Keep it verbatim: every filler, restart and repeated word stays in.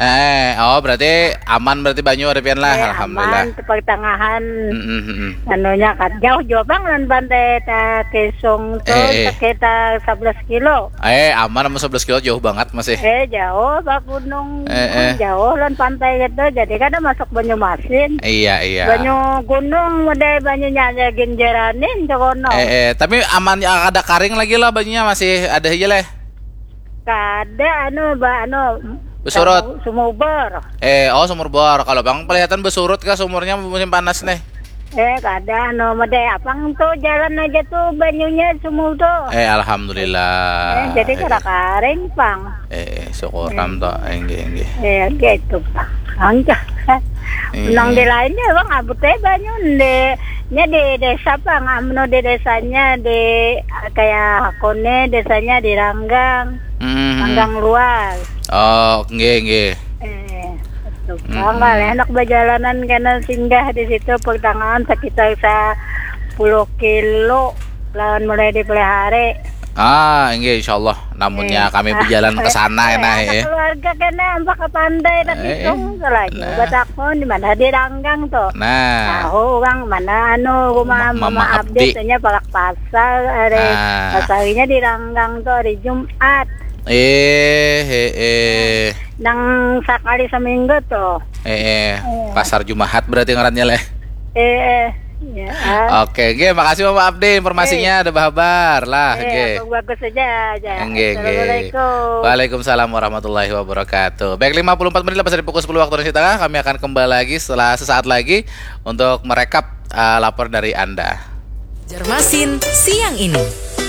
Eh, oh, berarti aman berarti banyu ada pian lah, Eh, alhamdulillah. Aman, pertengahan Mm-mm, mm-mm. Anunya kan jauh jua bang lawan pantai ta Kesong tu Eh, eh. Sekitar sebelas kilo. Eh, aman sama sebelas kilo jauh banget masih. Eh jauh bak gunung Eh, eh. Jauh lawan pantai gitu. Jadi kada masuk Banyumasin. Iya, iya. Banyu gunung udah banyunya aja genjeranin cokono. Eh, eh, tapi aman ya, ada karing lagi lah banyunya masih ada aja leh. Kada anu ba anu Besurut. Sumubor. Eh, oh sumur bor. Kalau bang kelihatan besurut kah sumurnya musim panas nih? Eh kada anu mede apang tu jalan aja tu banyunya sumur tu. Eh, alhamdulillah. Eh, jadi kada karing pang. Eh, syukur am to. Enggih, enggih. Eh gitu pang. Angka. Iya. Nang di lainnya bang abut eh banyu di nya di desa pang amno di desanya di kayak Hakone desanya di Ranggang. Hmm. Ranggang luas. Oh, enggih, enggih. Eh, itu Mm-mm. bang lah enak bajalanan kena singgah di situ pertengahan sekitar sepuluh kilo lawan mulai dipelihara. Ah, enggih insyaallah. Namunnya Eh. kami berjalan ke sana Eh, nah, anak eh. Keluarga kena mbak ke pantai tapi Eh, tunggu lagi nah. Batakon di mana di Ranggang tuh. Nah. Tahu orang mana anu rumah Ma- mama, Mama update Abdi. Nya palak pasar hari Ah. pasarnya di Ranggang tuh hari Jumat. Eh, eh, eh. Nang sekali seminggu tuh. Eh, eh. Iya. Pasar Jumahat berarti ngarannya leh. Eh, eh. Ya. Ah. Oke, oke, makasih Mama Abdi informasinya ada bahabar lah, Eh, oke. Bagus saja aja. Enggih, enggih. Assalamualaikum. Waalaikumsalam warahmatullahi wabarakatuh. Baik, lima puluh empat menit lepas dari pukul sepuluh waktu Indonesia Tengah, kami akan kembali lagi setelah sesaat lagi untuk merekap uh, laporan dari Anda. Banjarmasin siang ini.